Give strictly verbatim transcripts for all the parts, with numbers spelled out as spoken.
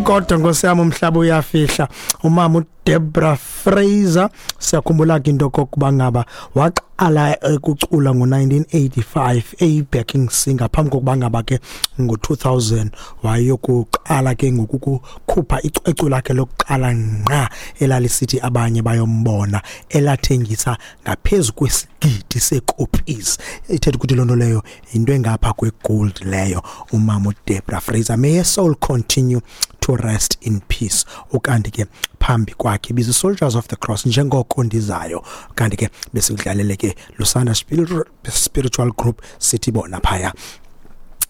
Kodwa nkosi yami, umhlaba uyafihla. Umama uDebra Fraser, siyakhumbula ke into kokuba ngaba waqala ukucula ngo-nineteen eighty-five eyi-backing singer, phambi kokuba ngaba ke ngo-two thousand wayokuqala ke ngokukhupha icwecwe lakhe lokuqala ngqa elalisithi "Abanye Bayombona", elathengisa ngaphezu kwesigidi see-copies. Ithetha ukuthi loo nto leyo yinto engapha kwe-gold leyo. Umama uDebra Fraser, may her soul continue to rest in peace. Ukanti ke phambi kwakhe bizi Soldiers of the Cross, "Njengoko Ndizayo". Kanti ke besikudlalele ke Lusanda Spiritual Group, sithi bona phaya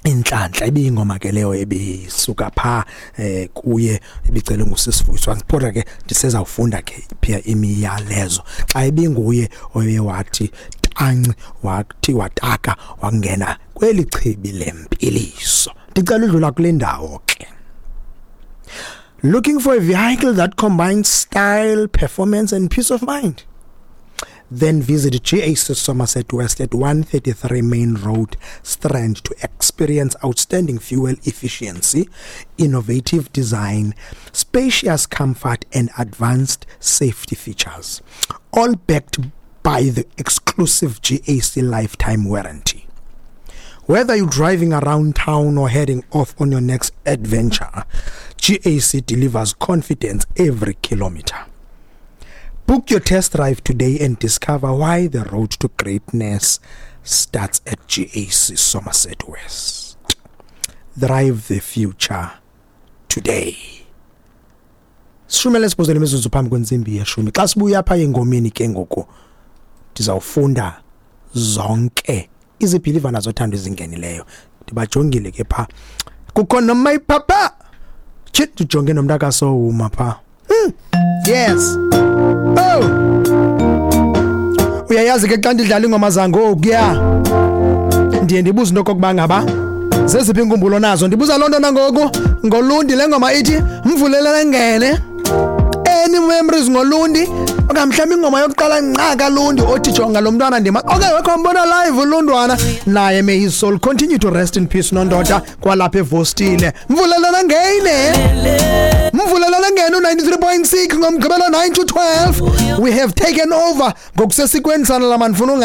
"Inhlanhla". Ibiyingoma ke leyo ebisuka pha eh kuye, ibicele ngusisivuyiswa. Kodwa ke ndisezawufunda ke phia imiyalezo xa ibinguye oye wathi tanci, wathi wataka, wangena kweli chibi lempiliso. Ndicela udlula kule ndawo ke. Looking for a vehicle that combines style, performance and peace of mind? Then visit G A C Somerset West at one thirty-three Main Road, Strand, to experience outstanding fuel efficiency, innovative design, spacious comfort and advanced safety features, all backed by the exclusive G A C lifetime warranty. Whether you're driving around town or heading off on your next adventure, G A C delivers confidence every kilometer. Book your test drive today and discover why the road to greatness starts at G A C Somerset West. Drive the future today. Sishumele sibuzele imizuzu phambi kwentsimbi yeshumi. Xa sibuya apha engomeni ke ngoku ndizawufunda zonke izibhilivana zothando ezingenileyo. Ndibajongile ke pha, kukho nomay papa tshit, ndijonge nomntakasowuma pha. hmm. yes oh, uyayazi ke xa ndidlala iingoma zangokuya ndiye ndibuze into okokuba ngaba zeziphi iinkumbulo nazo. Ndibuza loo nto nangoku ngolundi le ngoma ithi "Mvulele Ngene". Any memories ngolundi, okanye mhlawumbi ingoma yokuqala nqa kaLundi othi "Jonga lo mntwana ndima"? Okay, wekho mbona live ulundwana naye. May his soul continue to rest in peace. Nondoda kwalapha evostile. "Mvulelana Ngene", "Mvulelana Ngene", u-ninety-three point six ngoMgqibelo nine to twelve. We have taken over ngokusesikweni sana la mandifuna unga